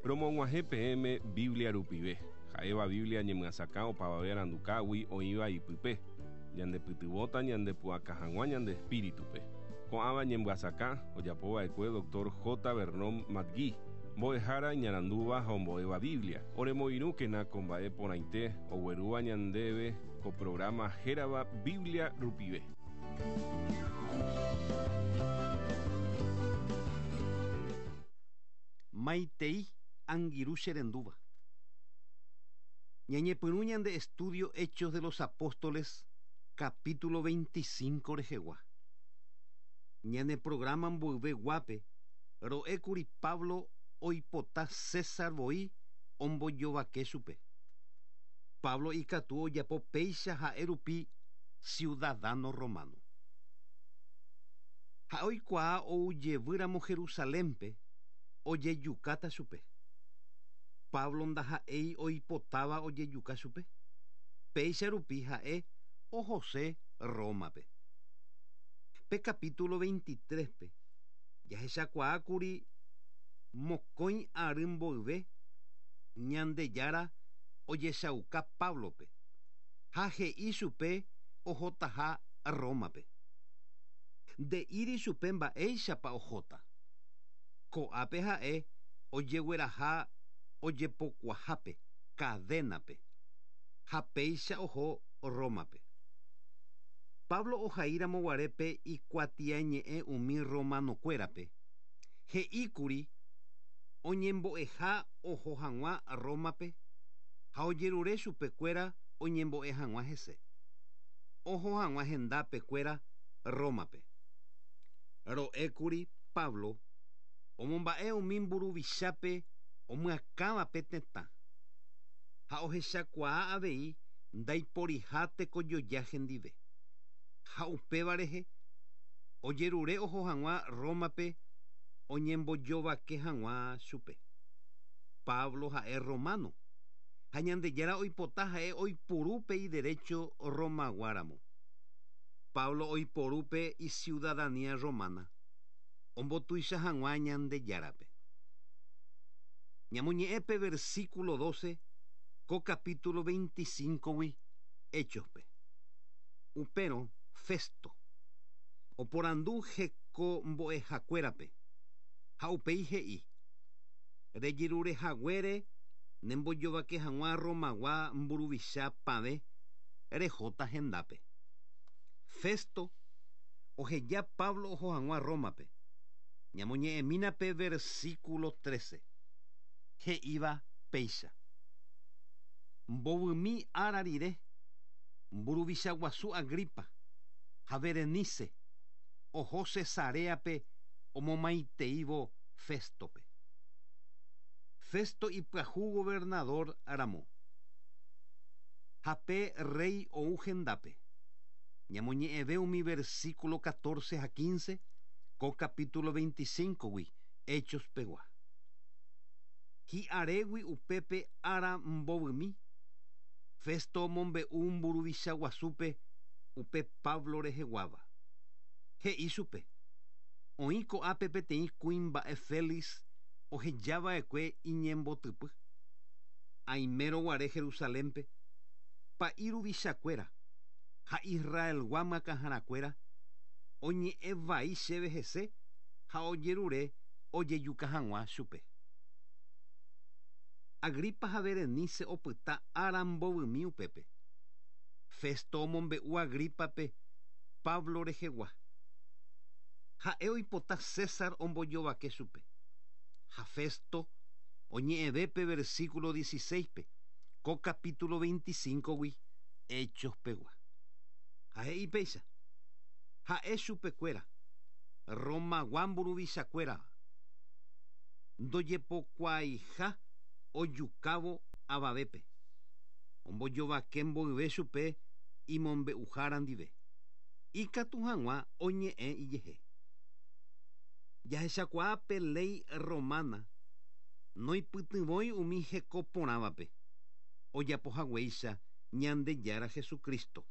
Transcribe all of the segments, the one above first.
Romog̃uahẽ peẽme Biblia rupive, ha'éva Biblia ñemyasakã opavave arandukágui oĩva ipype, ñandepytyvõta ñandepu'aka hag̃ua ñande espíritupe. Ko'ãva ñemyasakã ojapova'ekue Dr. J. Vernon McGee, mbo'ehára iñarandúva ha ombo'éva Biblia. Oremoirũkena ko mba'e porãite oguerúva ñandéve ko programa hérava Biblia rupive. Maitei angirũ che rendúva. Ñañepyrũ ñande estudio Hechos de los Apóstoles capítulo 25 rehegua. Ñane programa mboyve guápe ro'ékuri Pablo oipota César voi ombojovake chupe. Pablo ikatu ojapo péicha ha'e rupi ciudadano romano. Ha'e oikuaa oujevýramo Jerusalénpe ojejukáta chupe. Pablo ndaha'éi oipotáva ojejuka chupe. Péicha rupi ha'e ohose Rómape. Pe capítulo 23-pe jahechakuaákuri mokõi ary mboyve Ñandejára ojechauka Páblope ha he'i chupe ohotaha Rómape. Nde'íri chupe mba'éichapa ohóta. Ko'ápe ha'e ojegueraha ojepokuahápe cadénape ha péicha oho Rómape. Pablo ohaíramo guare pe ikuatiañe'ẽ umi romanokuérape, he'íkuri oñembo'eha oho hag̃ua Rómape ha ojerure chupekuéra oñembo'e hag̃ua hese, oho hag̃ua hendápekuéra Rómape. Ro'ékuri Pablo omomba'e umi mburuvichápe omyakãva pe tetã ha ohechakuaa avei ndaiporiha tekojoja hendive. Ha upéva rehe ojerure oho hag̃ua Rómape oñembojovake hag̃ua chupe. Pablo ha'e romano ha Ñandejára oipota ha'e oipuru pe iderécho Romaguáramo. Pablo oiporu pe iciudadanía romana ombotuicha hag̃ua Ñandejárape. Ñamoñe'ẽ pe versículo 12 ko capítulo 25-gui Héchospe. Upérõ Festo oporandu heko mbo'ehakuérape ha upéi he'i: Rejerurehaguére nembojovake hag̃ua Romagua mburuvicha pavẽ rehóta hendápe. Festo oheja Pablo oho hag̃ua Rómape. Ñamoñe'ẽmína pe versículo 13, he'íva péicha: Mbovymi ára rire, mburuvicha guasu Agripa ha Berenice oho Cesaréape omomaiteívo Féstope. Festo ipyahu gobernador ramo ha pe rréi ou hendápe. Ñamoñe'ẽve umi versículo 14 ha 15 ko capítulo 25-gui Hechos pegua. Hi'arégui upépe ára mbovymi, Festo omombe'u mburuvicha guasúpe upe Pablo reheguáva. He'i chupe: Oĩ ko'ápe peteĩ kuimba'e Félix ohejava'ekue iñembotypy. Aimérõ guare Jerusalénpe, pa'i ruvichakuéra ha Israelgua myakãharakuéra oñe'ẽ vai chéve hese ha ojerure ojejuka hag̃ua chupe. Agripa ha Berenice opyta ára mbovymi upépe. Festo omombe'u Agrípape Pablo rehegua. Ha'e oipota César ombojovake chupe. Ha Festo oñe'ẽve pe versículo 16-pe ko capítulo 25-gui Hechos pegua. Ha he'i péicha: Ha'e chupekuéra, Romagua mburuvichakuéra, ndojepokuaaiha ojukávo avavépe, ombojovake mboyve chupe imombe'uhára ndive, ikatu hag̃ua oñe'ẽ ijehe. Jahechakuaa pe léi romana noipytyvõi umi heko porãvape, ojapohaguéicha Ñandejára Jesucristo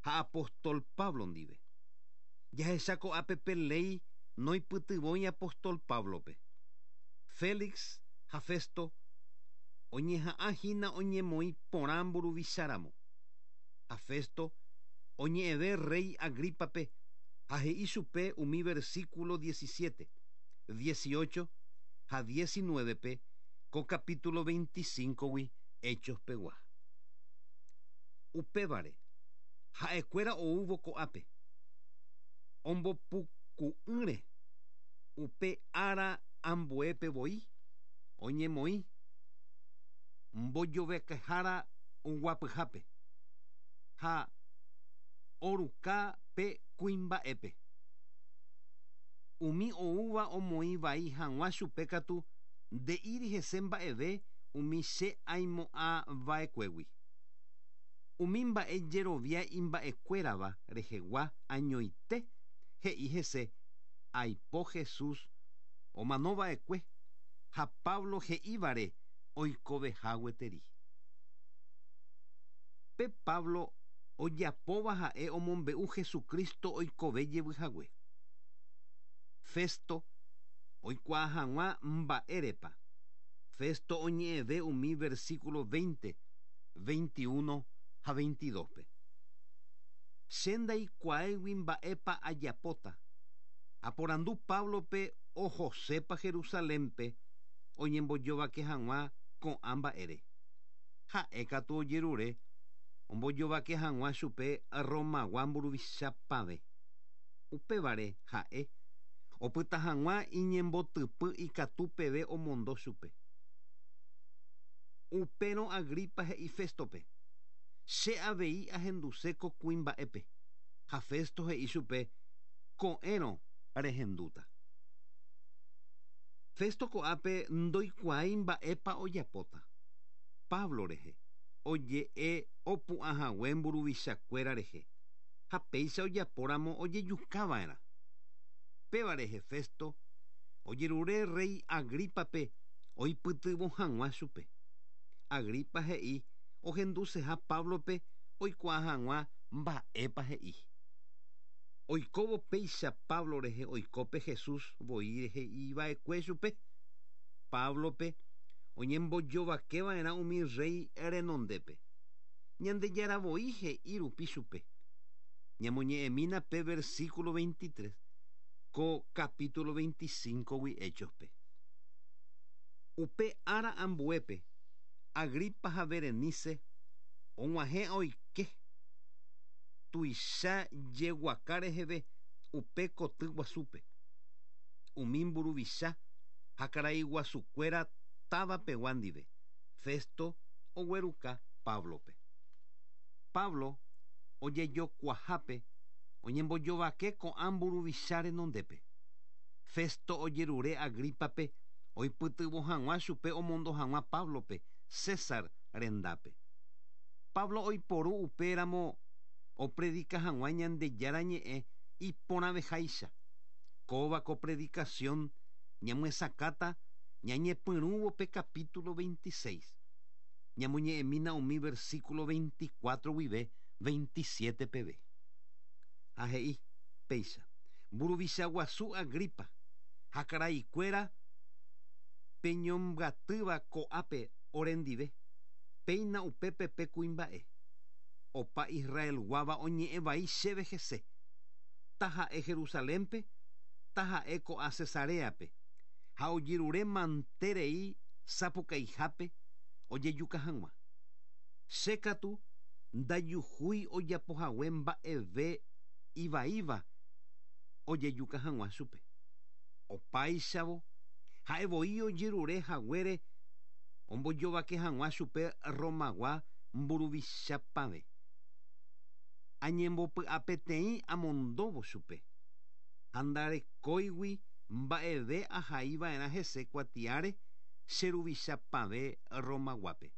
ha apóstol Pablo ndive. Jahecha ko'ápe pe léi noipytyvõi apóstol Páblope. Félix Ha Festo oñeha'ãhína oñemoĩ porã mburuvicháramo. Ha Festo oñe'ẽve rey Agripa-pe ha he'i chupe umi versículo 17, 18 ha 19-pe ko capítulo 25-gui Hechos pegua. Upévare, ha'ekuéra oúvo ko'ápe, ombopuku'ỹre upe ára ambuépe voi, oñemoĩ mbojovekehára oguapyhápe ha oruka pe kuimba'épe. Umi oúva omoĩ vai hag̃ua chupe katu nde'íri hese mba'eve umi che aimo'ãva'ekuégui. Umi mba'e jerovia imba'ekuérava rehegua añoite he'i hese aipo Jesús omanova'ekue ha Pablo he'ívare oikoveha gueteri. Pe Pablo ojapóva ha'e omombe'u Jesucristo oikove jevyhague. Festo oikuaa hag̃ua mba'érepa. Festo oñe'ẽve umi versículo 20, 21 ha 22-pe. Che ndaikuaáigui mba'épa ajapóta. Aporandu Pablo-pe ohosépa Jerusalén-pe oñembojovake hag̃ua ko'ã mba'ére. Ha'e katu ojerure ombojovake hag̃ua chupe Romagua mburuvichapavẽ. Upévare ha'e opyta hag̃ua iñembotypy ikatu peve omondo chupe. Upérõ Agripa he'i Féstope: Che avei ahenduse ko kuimba'épe. Ha Festo he'i chupe: Ko'ẽrõ rehendúta. Festo ko'ápe ndoikuaái mba'épa ojapóta. Pablo rehe oje'e opu'ãhague mburuvichakuéra rehe, ha péicha ojapóramo ojejukava'erã. Péva rehe Festo ojerure rey Agripa-pe oipytyvõ hag̃ua chupe. Agripa he'i ohenduseha Pablo-pe oikuaa hag̃ua mba'épa he'i. Oikóvo péicha Pablo rehe oiko pe Jesús voi he'iva'ekue chupe. Pablo-pe oñembojovakeva'erã umi rey renondépe. Ñandejára voi he'i rupi chupe. Ñamoñe'ẽmína pe versículo 23 ko capítulo 25-gui Hechos-pe. Upe ára ambuépe, Agripa ha Berenice og̃uahẽ oike tuicha jeguaka reheve upe koty guasúpe. Umi mburuvicha ha karai guasukuéra táva pegua ndive, Festo ogueruka Pablo-pe. Pablo ojejokuahápe oñembojovake ko'ã mburuvicha renondépe. Festo ojerure Agripa-pe oipytyvõ hag̃ua chupe omondo hag̃ua Pablo-pe César rendápe. Pablo oiporu upéramo opredika hag̃ua Ñandejára ñe'ẽ iporãveháicha. Kóva ko predikasión ñamyesakãta ñañepyrũvo pe capítulo 26. Ñamoñe'ẽmína umi versículo 24 guive 27 peve. Ha he'i péicha: Mburuvicha guasu Agripa ha karaikuéra peñombyatýva ko'ápe orendive, péina upépe pe kuimba'e. Opa Israelguáva oñe'ẽ vai chéve hese, taha'e Jerusalénpe, taha'e ko'a Cesaréape, ha ojerure manterei sapukaihápe ojejuka hag̃ua. Che katu ndajuhúi ojapohague mba'eve ivaíva ojejuka hag̃ua chupe. Opáichavo, ha'e voi ojerure haguére ombojovake hag̃ua chupe Romagua mburuvichapavẽ. Añembopy'apeteĩ amondóvo chupe, ha ndarekóigui mba'eve ahaiva'erã hese kuatiáre che ruvichapavẽ Romaguápe.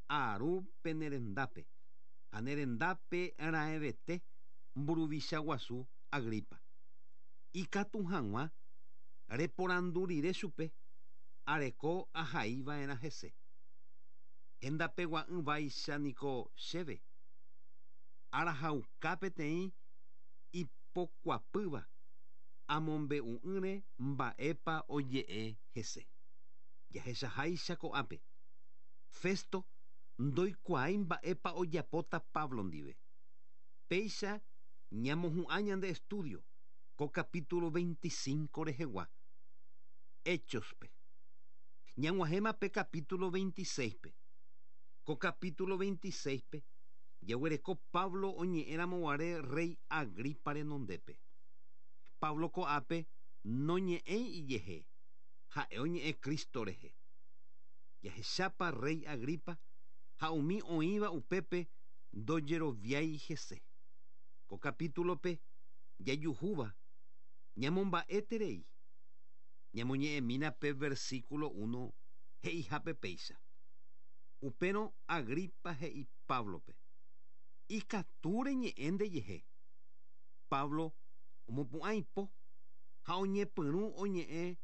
Aru pene rendápe, ha ne rendápe raẽvete mburuvicha guasu Agripa. Ikatu hag̃ua reporandu rire chupe, areko ahaiva'erã hese. Hendapegua'ỹ vaicha niko chéve, arahauka peteĩ ipokuapýva amombe'u'ỹre mba'épa oje'e hese. Jahechaháicha ko'ápe. Festo ndoikuaái mba'épa ojapóta Pablo ndive. Péicha ñamohu'ã ñande estudio ko capítulo 25 rehegua Hechos-pe. Ñag̃uahẽma pe capítulo 26-pe. Ko capítulo 26-pe jaguereko Pablo oñe'ẽramo guare rey Agripa renondépe. Pablo ko'ápe noñe'ẽi ijehe, ha'e oñe'ẽ Cristo rehe. Jahechápa rey Agripa ha umi oĩva upépe ndojeroviái hese. Ko capítulo-pe jajuhúva ñamomba'eterei. Ñamoñe'ẽmína pe versículo uno he'ihápe péicha. Upérõ Agripa he'i Páblope, Ikatu reñe'ẽ ndejehe. Pablo omopu'ã ipo ha oñepyrũ oñe'ẽ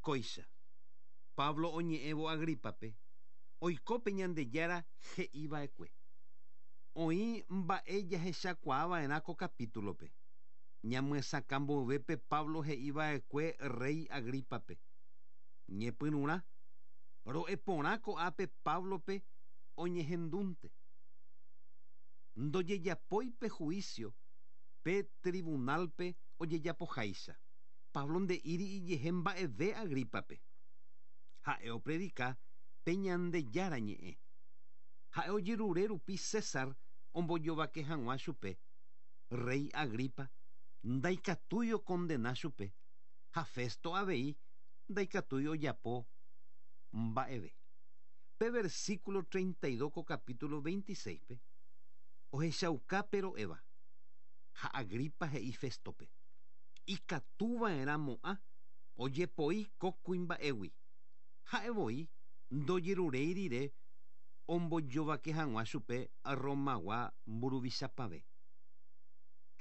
kóicha. Pablo oñe'ẽvo Agrípape, oiko pe Ñandejára he'i va'ekue. Oĩ mba'e jahechakuaa va'erã ko capítulo-pe. Ñamyesakã mboyve pe Pablo he'i va'ekue rréi Agrípape. Ñepyrũrã, ro'e porã ko'ápe Páblope oñehendúnte. Ndojejapói pe juicio pe tribunálpe ojejapoháicha. Pablo nde'íri ijehe mba'eve Agrípape. Ha'e opredika pe Ñandejára ñe'ẽ. Ha'e ojerure rupi César ombojovake hag̃ua chupe, rréi Agripa ndaikatúi okondena chupe ha Festo avei ndaikatúi ojapo mba'eve. Pe versículo 32 ko capítulo 26-pe ohechauka pe ro'éva, Ha Agripa he'i Féstope, Ikatu va'erã mo'ã ojepoi ko kuimba'égui, ha'e voi ndojeruréi rire ombojovake hag̃ua chupe Romagua mburuvichapavẽ.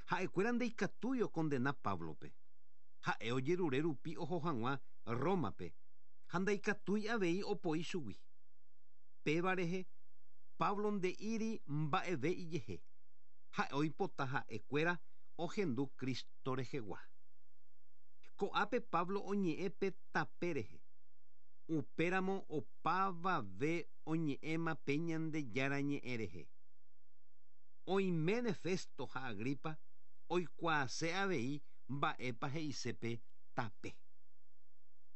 Ha'ekuéra ndaikatúi okondena Páblope, ha'e ojerure rupi oho hag̃ua Rómape ha ndaikatúi avei opoi chugui. Péva rehe Pablo nde'íri mba'eve ijehe, ha'e oipota ha'e kuéra ohendu Cristo rehegua. Ko'ápe Pablo oñe'ẽ pe tape rehe. Upéramo opavave oñe'ẽma pe Ñandejára ñe'ẽ rehe. Oiméne Festo ha Agripa oikuaase avei mba'épa he'ise pe tape.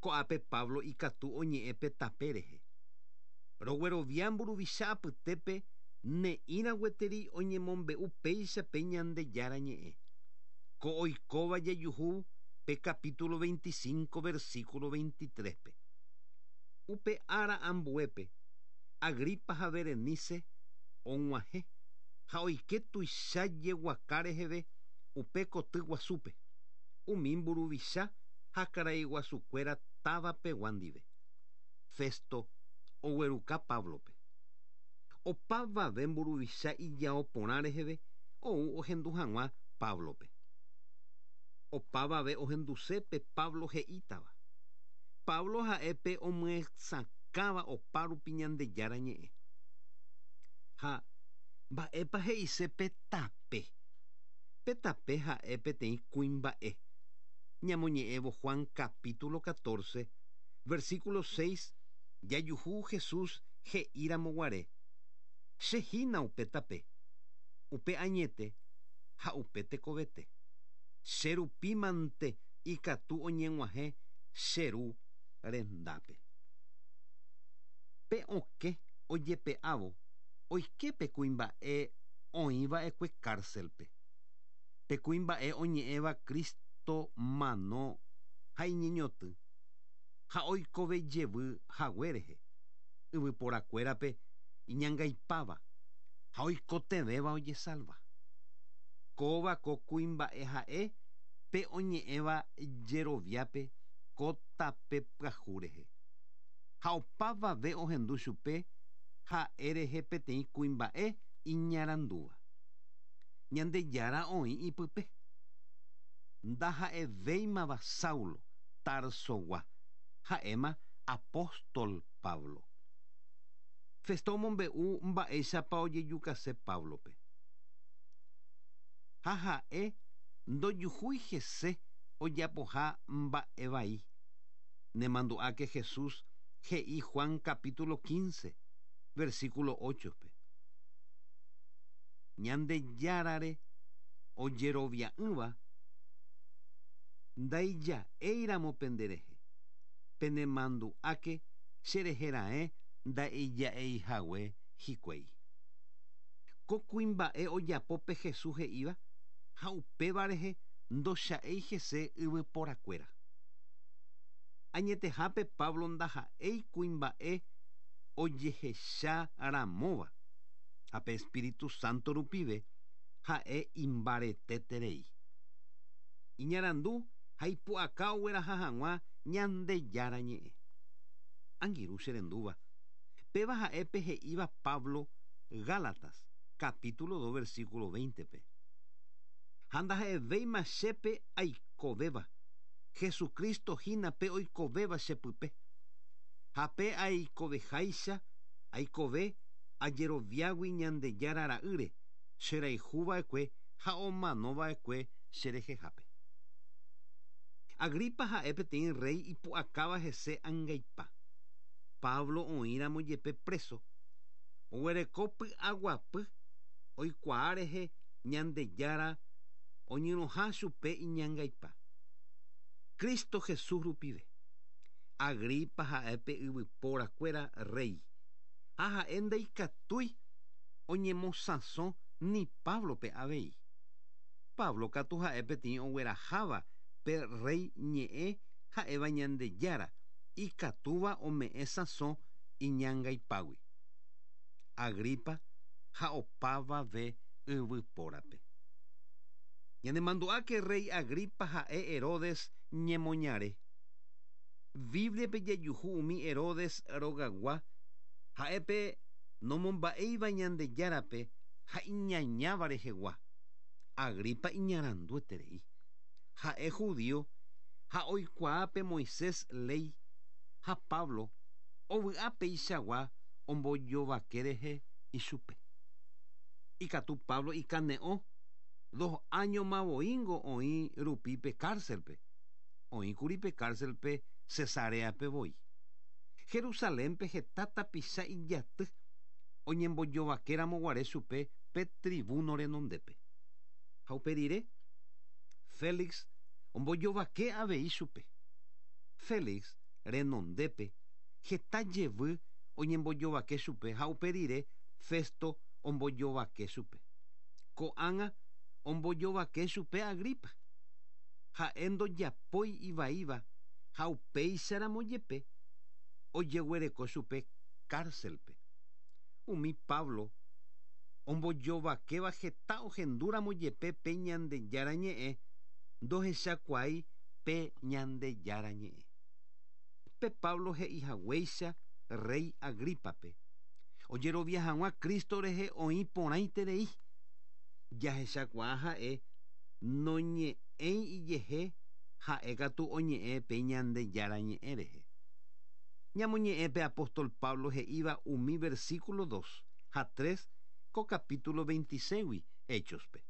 Ko'ápe Pablo ikatu oñe'ẽ pe tape rehe. Roguerovia mburuvicha apytépe ne'ĩra gueteri oñemombe'u péicha pe Ñandejára Ñe'ẽ. Ko oikóva jajuhu pe capítulo 25 versículo 23-pe. Upe ára ambuépe, Agripa ha Berenice og̃uahẽ ha oike tuicha jeguaka reheve upe koty guasúpe, umi mburuvicha ha karaiguasukuéra táva pegua ndive. Festo ogueruka Páblope. Opavave mburuvicha ijao porã reheve ou ohendu hag̃ua Páblope. Opavave ohenduse pe Pablo he'ítava. Pablo ha'e pe omyesakãva opárupi Ñandejára Ñe'ẽ. Ha mba'épa he'ise pe tape? Pe tape ha'e peteĩ kuimba'e. Ñamoñe'ẽvo Juan capítulo 14, versículo 6 jajuhu Jesús he'íramo guare, Che hína upe tape, upe añete ha upe tekovete. Che rupi mante ikatu oñeg̃uahẽ che Ru rendápe. Pe okẽ ojepe'ávo oike pe kuimba'e oĩ va'ekue kárselpe. Pe kuimba'e oñe'ẽva Cristo mano ha iñeñotỹ ha oikove jevy hague rehe, yvyporakuérape iñangaipáva ha oikotevẽva ojesalva. Kóva ko kuimba'e ha'e pe oñe'ẽva jeroviápe ko tape pyahu rehe. Ha opavave ohendu chupe ha'e rehe peteĩ kuimba'e iñarandúva. Ñandejára oĩ ipype. Ndaha'evéimava Saulo, Tarsogua, ha'éma apóstol Pablo. Festo omombe'u mba'éichapa ojejukase Páblope. Ha ha'e ndojuhúi hese ojapoha mba'e vai. Nemandu'áke Jesús He'i Juan capítulo 15, versículo 8-pe. Ñandejárare ojerovia'ỹva ndaija'éiramo penderehe, penemandu'áke cherehe raẽ ndaija'eihague hikuái. Ko kuimba'e ojapo pe Jesús he'íva ha upéva rehe ndocha'éi hese yvyporakuéra. Añetehápe Pablo ndaha'éi kuimba'e ojehecha ramóva, ha pe Espíritu Santo rupive ha'e imbareteterei. Iñarandu ha ipu'aka ogueraha hag̃ua Ñandejára Ñe'ẽ. Angirũ che rendúva, péva ha'e pe he'íva Pablo Gálatas, capítulo 2 versículo 20-pe. Ha ndaha'evéima che pe aikovéva, Jesucristo hína pe oikovéva che pype. Ha pe aikoveháicha aikove ajeroviágui Ñandejára Ra'ýre, che rayhu va'ekue ha omano va'ekue che rehehápe. Agripa ha'e peteĩ rréi ipu'akáva hese angaipa. Pablo oĩramo jepe préso, oguereko py'aguapy oikuaa rehe Ñandejára oñyrõha chupe iñangaipa. Cristo Jesús rupive. Agripa ha'e pe yvypóra kuéra rréi, ha ha'e ndaikatúi oñemosãso ni Páblope avei. Pablo katu ha'e peteĩ ogueraháva pe rréi ñe'ẽ ha'éva Ñandejára, ikatúva ome'ẽ sãso iñangaipágui. Agripa ha opavave yvypórape. Ñanemandu'áke rréi Agripa ha'e Herodes ñemoñare. Bíbliape jajuhu umi Herodes rogagua ha'e pe nomomba'éiva Ñandejárape ha iñañáva rehegua. Agripa iñarandueterei. Ha'e judío ha oikuaa pe Moisés léi ha Pablo ovy'a peichagua ombojovake rehe ichupe. Ikatu Pablo ikane'õ dos áñoma voíngo oĩ rupi pe kárselpe. Oĩkuri pe kárselpe Cesaréape voi. Jerusalénpe heta tapicha ijaty oñembojovakéramo guare chupe pe trivúno renondépe. Ha upe rire, Félix ombojovake avei chupe. Félix renondépe heta jevy oñembojovake chupe ha upe rire Festo ombojovake chupe. Ko'ág̃a ombojovake chupe Agripa. Ha'e ndojapói ivaíva ha upéicharamo jepe ojeguereko chupe kárselpe. Umi Pablo ombojovakéva heta ohendúramo jepe pe Ñandejára Ñe'ẽ ndohechakuaái pe Ñandejára Ñe'ẽ. Pe Pablo he'ihaguéicha rréi Agrípape, ojerovia hag̃ua Cristo rehe oĩ porãiterei. Jahechakuaa ha'e noñe'ẽi ijehe ha'e katu oñe'ẽ pe Ñandejára Ñe'ẽ rehe. Ñamoñe'ẽ pe apóstol Pablo he'íva umi versículo dos ha tres ko capítulo veintiséigui Héchospe.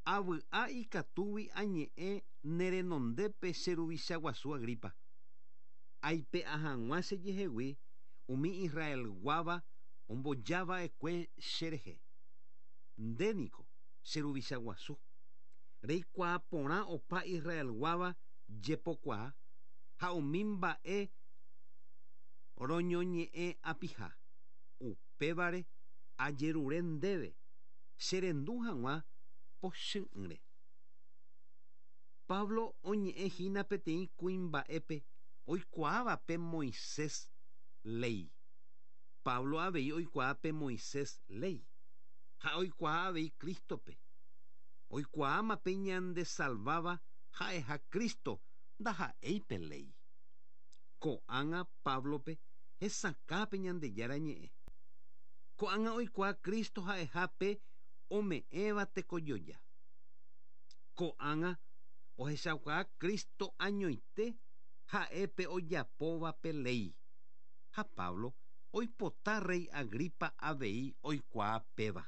Avy'a ikatúgui añe'ẽ ne renondépe che ruvicha guasu Agripa, aipe'a hag̃ua che jehegui umi Israelguáva omboja va'ekue che rehe. Nde niko, che ruvicha guasu, reikuaa porã opa Israelguáva jepokuaa ha umi mba'e roñoñe'ẽ apiha. Upévare ajerure ndéve che rendu hag̃ua pochy'ỹre. Pablo oñe'ẽ hína peteĩ kuimba'épe oikuaáva pe Moisés léi. Pablo avei oikuaa pe Moisés léi, ha oikuaa avei Crístope. Oikuaáma pe ñandesalváva ha'eha Cristo, ndaha'éi pe léi. Ko'ág̃a Páblope hesakã pe Ñandejára Ñe'ẽ. Ko'ág̃a oikuaa Cristo ha'eha pe ome'ẽva tekojoja. Ko'ág̃a ohechaukaa Cristo añoite ha'e pe ojapóva pe léi. Ha Pablo oipota rréi Agripa avei oikuaa péva.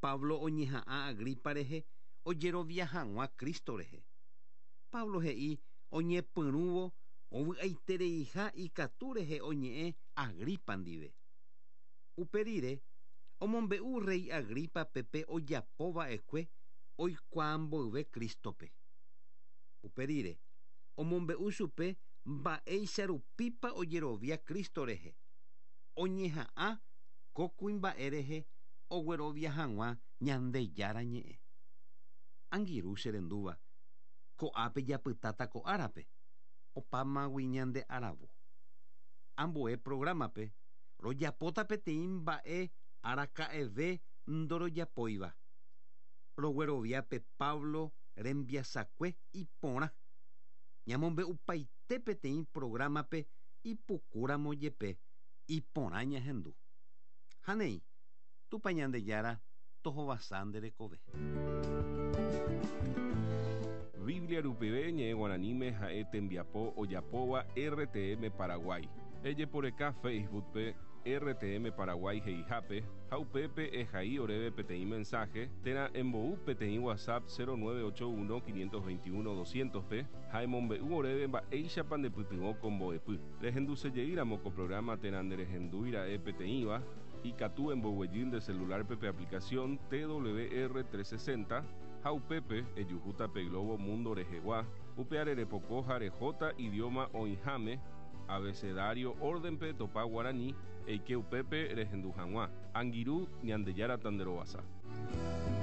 Pablo oñeha'ã Agripa rehe ojerovia hag̃ua Cristo rehe. Pablo he'i oñepyrũvo Ovy'aitereiha ikatu rehe oñe'ẽ Agripa ndive. Upe rire, omombe'u rréi Agrípape pe ojapo va'ekue oikuaa mboyve Crístope. Upe rire, omombe'u chupe mba'éicha rupípa ojerovia Cristo rehe, oñeha'ã ko kuimba'e rehe oguerovia hag̃ua Ñandejára Ñe'ẽ. Angirũ che rendúva, ko'ápe japytáta ko árape, opámagui ñande aravo. Ambue prográmape rojapóta peteĩ mba'e araka'eve ndorojapóiva. Roguerovia pe Pablo rembiasakue iporã. Ñamombe'upaite peteĩ prográmape ipukúramo jepe iporã ñahendu. Ha néi, Tupã Ñandejára tohovasa nde rekove. Biblia rupive ñe'ẽ guaraníme ha'e tembiapo ojapóva RTM Paraguay. Ejeporeka Facebook-pe RTM Paraguay he'ihápe ha upépe ehai oréve peteĩ mensaje térã embou peteĩ WhatsApp 0981 521 200-pe ha emombe'u oréve mba'éichapa ndepytyvõ ko mbo'epy. Rehendusejeýramo ko programa térã nderehendúi ra'e peteĩva, ikatu emboguejy nde celular-pe pe aplicación TWR 360 ha upépe ejuhúta pe globo mundo rehegua, upe arerepoko ha rehóta idioma oĩháme, abecedario orden-pe topa guarani, eike upépe rehendu hag̃ua. Angirũ Ñandejára tanderovasa.